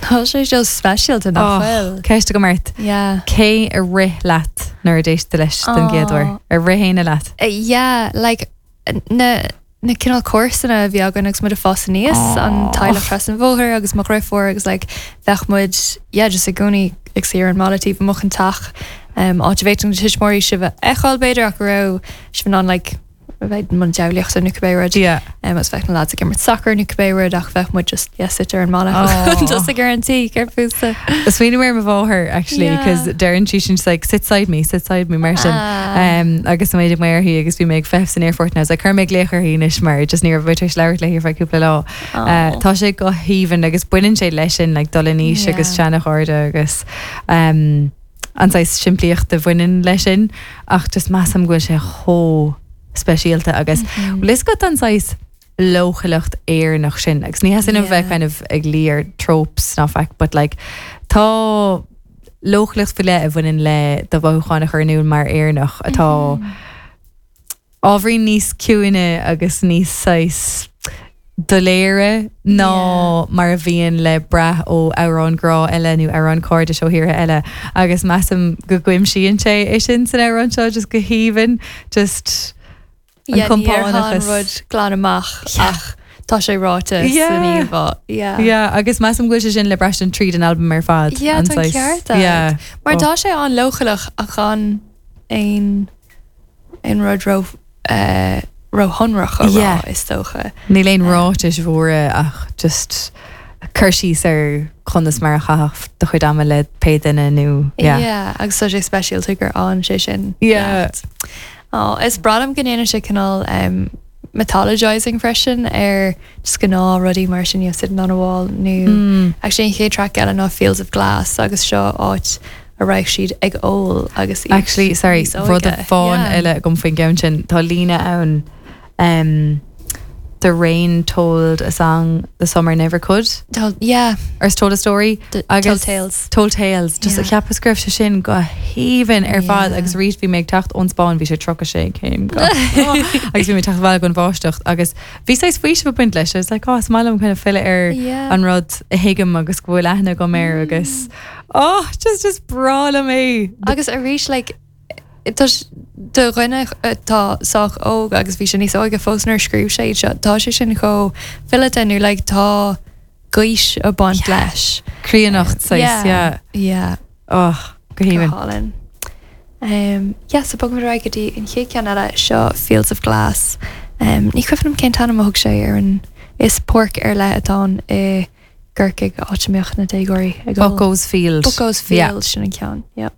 Tá sé seo speisialta nach bhfuil? Ceist agam ort. Yeah. Cé a rith leat nuair a d'éist tú leis den gcéad uair? Ar rith éinne leat? Yeah, like na na cineál comharsana a bhí againn agus muid ag fás aníos, an teaghlach trasna an bhóthair agus mo dheirfiúr agus like bheadh muid yeah just i gcónaí ag suí ar an mballa taobh amuigh den teach, um, áit a bhféadfadh na tuismitheoirí sibh a fheiceáil b'fhéidir ach go raibh sibh in ann like a bheith i mbun diabhlaíochta nó cibé rud. Yeah. Um, agus bheadh na lads ag imirt sacair nó cibé rud ach bheadh muid just yeah, suite ar an mballa oh. just ag ar an tí ar fúsa. Smaoiním ar mo mháthair actually yeah. cos deireann sí sin like sit side me, sit side me mar sin. Ah. Um, agus mé ag uirthi agus bhí mé ag feitheamh san aerfort now, like, chuir mé glaoch uirthi anois mar just ní raibh mé tar éis labhairt léi ar feadh cúpla lá. Oh. Uh, tá sé go haoibhinn agus baineann sé leis sin like, dul in aois yeah. agus seanachairde agus um, an saghas simplíocht a bhaineann leis sin ach just measaim go bhfuil sé chomh speisialta agus bhfuil fhios agat an saghas leochaileacht Éireannach sin agus ní theastaíonn uaim bheith kind of ag luí ar tropes ná faic but like tá leochaileacht faoi leith a bhaineann le do mhothúcháin a chur in iúl mar Éireannach atá ábhairín níos ciúine agus níos saghas doiléire ná mar a bhíonn le brath ó amhráin grá eile nó amhráin cairdis ó thíortha eile agus measaim go gcuimsíonn sé é sin san amhrán seo just go haoibhinn just an Yeah, ní déarfá an compánachas. rud glan amach ach tá sé ráite Yeah. san íomhá. Yeah. Yeah, agus measaim go bhfuil sé sin le braistint tríd an albam ar fad. Yeah, an tá an saghas- ceart agat. Yeah. Mar Oh. tá sé an-leochaileach ach gan aon aon rud ró róshonrach a rá, Yeah. is dócha. Níl aon ráitis mhóra ach just cur síos ar conas mar a chaithfeá do chuid ama le pé duine nó yeah. Yeah, agus tá sé speisialta gur fhan sé sin. Yeah. leat. Oh, is breá liom go ndéanann sé cineál um, mythologizing freisin ar just gnáth rudaí mar sin, you know, sitting on a wall nó Mm. actually an chéad track eile ná Fields of Glass agus seo áit a raibh siad ag ól agus iad Actually, sorry, níos óige. rud amháin Yeah. eile agam faoin gceann sin, tá líne ann um, The rain told a song the summer never could. Told, yeah. Or told a story. D agus told tales. Told tales. Just Yeah. cheapas go raibh sé sin go haoibhinn ar fad Yeah. agus arís bhí mé ag teacht ón Spáinn bhí sé 36 céim go agus bhí mé ag teacht abhaile don bháisteach agus bhí saghas faoiseamh ag baint leis. I was like, oh, is maith liom kind of filleadh ar Yeah. an rud a thuigim agus go bhfuil aithne agam air agus oh, just just breá liom é. Agus arís like tá do dhuine atá sách óg agus bhí sé níos óige fós nuair a scríobh sé iad seo, tá sé sin chomh fileata nó like tá gaois ag baint leis. Críonnacht saghas, yeah. Yeah. Oh, go Go haoibhinn. hálainn. Um, yeah, so bogfaimid ar aghaidh go dtí an chéad ceann eile, seo Fields of Glass. Um, ní cuimhin liom cén t-ainm a thug sé ar an is páirc ar leith atá ann i gCorcaigh, áit a mbeadh na déagóirí ag ól. Bucko's Field. Bucko's Yeah. Field, sin an ceann, yeah.